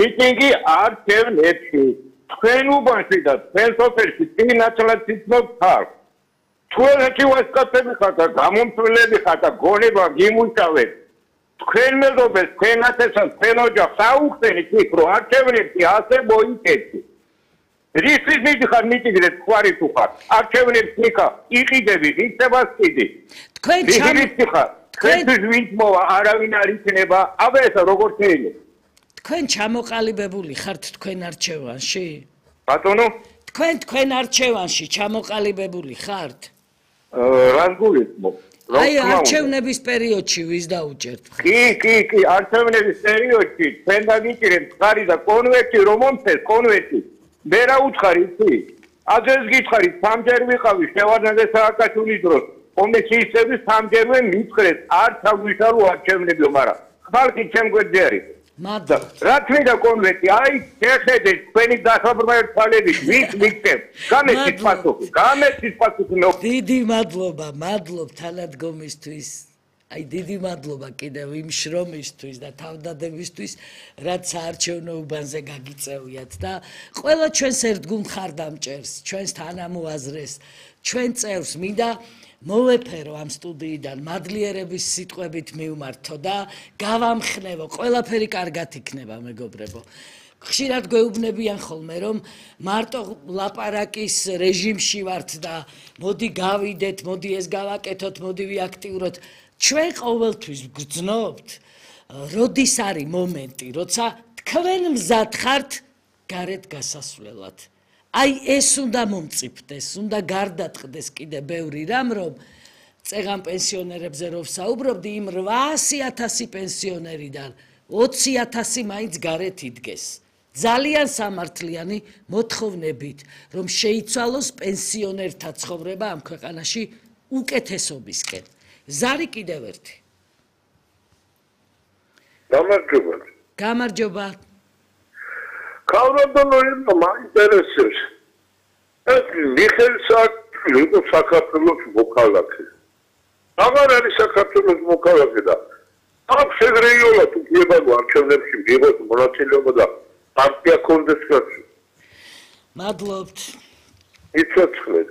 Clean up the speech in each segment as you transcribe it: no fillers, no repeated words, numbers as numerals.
მიტინგი არ შევნებში. თქვენ უბანში და თქვენ სოფელში წინასწარ ცნობთ ხარ. თქვენ ეთივასკაცები ხართ და გამომწვლელები ხართ და გონება გიმუშავეთ. თქვენ მეზობელს, თქვენ ათესას, თქვენ ოჯახს აუხსენით იქ, რომ არ შევნებში ასე მოიქცეთ. რისთვის მიდიხარ მიტინგზე თქვარი თუ ხარ? არ შევნებში იქა, იყიდები, იქნება სკიდი. თქვენ ჩამიხარ. თქვენთვის ვინც მოვა, არავინ არ იქნება, აბა ესა როგორ შეიძლება? თქვენ ჩამოყალიბებული ხართ თქვენ არჩევანში? ბატონო? თქვენ არჩევანში ჩამოყალიბებული ხართ? რას გულისხმობ? აი არჩევნების პერიოდში ვის დაუჭერთ? კი, არჩევნების პერიოდში თქვენ დაგიჭირეთ ხარი და კონვერტი რომ მომწეს კონვერტი. მე რა უცხარი იცი? აძეს გითხარით სამჯერ ვიყავი შევარდნაძე სააკაშვილის დროს. კომისიისები სამჯერვე მითხრეს არ ჩაგვიშალო არჩევნებიო, მაგრამ ხალხი ჩემ გვერდზე არის. რა თქმა კონვერტი, აი შეხედეთ თქვენი დასაბრმავი თვალებით, ვის მიქცევ? გამეცით პასუხი. დიდი მადლობა, თანადგომისთვის. აი დიდი მადლობა კიდევ იმ შრომისთვის და თავდადებისთვის, რაც საარჩევნო უბანზე გაგიწევიათ და ყველა ჩვენს ერთგულ მხარდამჭერს, ჩვენს თანამოაზრეს, ჩვენ წევრს მინდა მოვეფერო ამ სტუდიიდან მადლიერების სიტყვებით მივმართო და გავამხნევო, ყველაფერი კარგად იქნება მეგობრებო. ხშირად გვეუბნებიან ხოლმე რომ მარტო ლაპარაკის რეჟიმში ვართ და მოდი გავიდეთ, მოდი ეს გავაკეთოთ, მოდი ვიაქტიუროთ. ჩვენ ყოველთვის გძნობთ, როდის არის მომენტი, როცა თქვენ მზად ხართ გარეთ გასასვლელად. აი ეს უნდა მომწიფდეს, უნდა გარდატყდეს კიდე ბევრი რამ, რომ წეღან პენსიონერებზე რო ვსაუბრობდი, იმ 800,000 პენსიონერიდან 20,000 მაინც გარეთ იდგეს. ძალიან სამართლიანი მოთხოვნებით, რომ შეიცვალოს პენსიონერთა ცხოვრება ამ ქვეყანაში უკეთესობისკენ. ზარი კიდევ ერთი. გამარჯობა. კავშირი მაინტერესებს. ეს მიხეილ სააკაშვილი იყო საქართველოს მოქალაქე. აღარ არის საქართველოს მოქალაქე და აქ შეგრეიულად უფლება არჩევნებში მიიღოს მონაწილეობა და პარტია კონდეს კაცი. მადლობთ. იცოცხლეთ.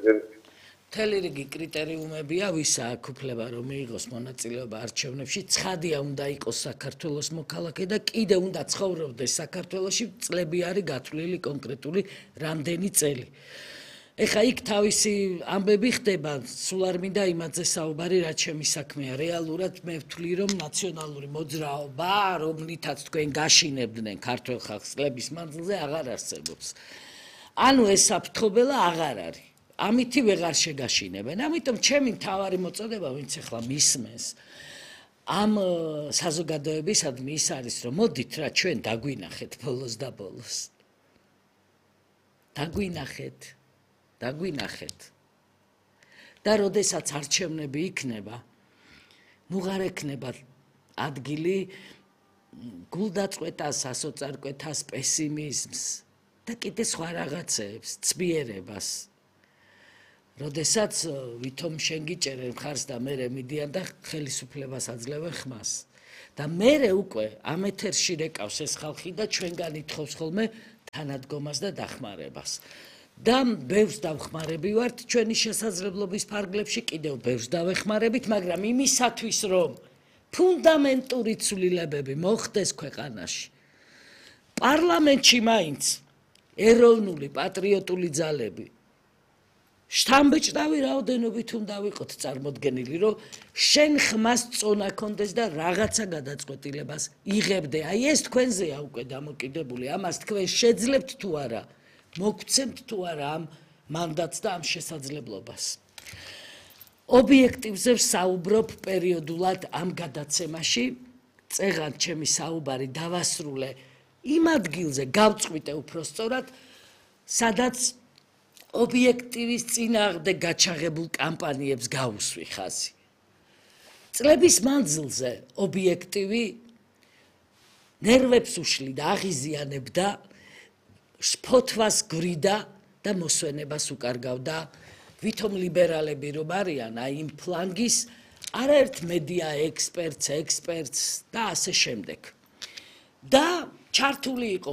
მთელი რიგი კრიტერიუმებია, ვის აქვს უფლება რომ მიიღოს მონაწილეობა არჩევნებში, ცხადია უნდა იყოს საქართველოს მოქალაქე და კიდე უნდა ცხოვრობდეს საქართველოში, წლები არის გათვლილი კონკრეტული რამდენი წელი. ეხა იქ თავისი ამბები ხდება, სულ არ მინდა იმაზე საუბარი, რაც ჩემი საქმეა. რეალურად მე ვთვლი, რომ ნაციონალური მოძრაობა, რომლითაც თქვენ გაშინებდნენ ქართველ ხალხს წლების მანძილზე, აღარ არსებობს. ანუ ეს საფრთხობელა აღარ არის. ამითი ვეღარ შეგაშინებენ. ამიტომ ჩემი მთავარი მოწოდება, ვინც ახლა მისმენს ამ საზოგადოებისადმი ის არის, რომ მოდით რა ჩვენ დაგვინახეთ ბოლოს და ბოლოს. დაგვინახეთ. და როდესაც არჩევნები იქნება, ნუღარ ექნება ადგილი გულდაწყვეტას, ასოწარკვეთას, პესიმიზმს და კიდე სხვა რაღაცეებს, ცბიერებას. როდესაც ვითომ შენ გიჭერენ ხარს და მე მიდიან და ხელისუფლებას აძლევენ ხმას. და მე უკვე ამ ეთერში რეკავს ეს ხალხი და ჩვენგან ითხოვს ხოლმე თანადგომას და დახმარებას. და ბევრს დავხმარები ვართ ჩვენი შესაძლებლობის ფარგლებში, კიდევ ბევრს დავეხმარებით, მაგრამ იმისათვის, რომ ფუნდამენტური ცვლილებები მოხდეს ქვეყანაში. პარლამენტში მაინც ეროვნული პატრიოტული ძალები შთამბეჭდავი რაოდენობით უნდა ვიყოთ წარმოდგენილი, რომ შენ ხმას წონა კონდეს და რაღაცა გადაწყვეტილებას იღებდე. აი ეს თქვენზეა უკვე დამოკიდებული, ამას თქვენ შეძლებთ თუ არა, მოგცემთ თუ არა ამ მანდატს და ამ შესაძლებლობას. ობიექტივზე ვსაუბრობ პერიოდულად ამ გადაცემაში, წეღან ჩემი საუბარი დავასრულე იმ ადგილზე, გავწყვიტე უფრო სწორად, სადაც ობიექტივის წინააღმდეგ გაჩაღებულ კამპანიებს გავუსვი ხაზი. წლების მანძილზე ობიექტივი ნერვებს უშლიდა, აღიზიანებდა, შფოთვას გვრიდა და მოსვენებას უკარგავდა ვითომ ლიბერალები რომ არიან აი იმ ფლანგის არაერთ მედია ექსპერტს და ასე შემდეგ. და ჩართული იყო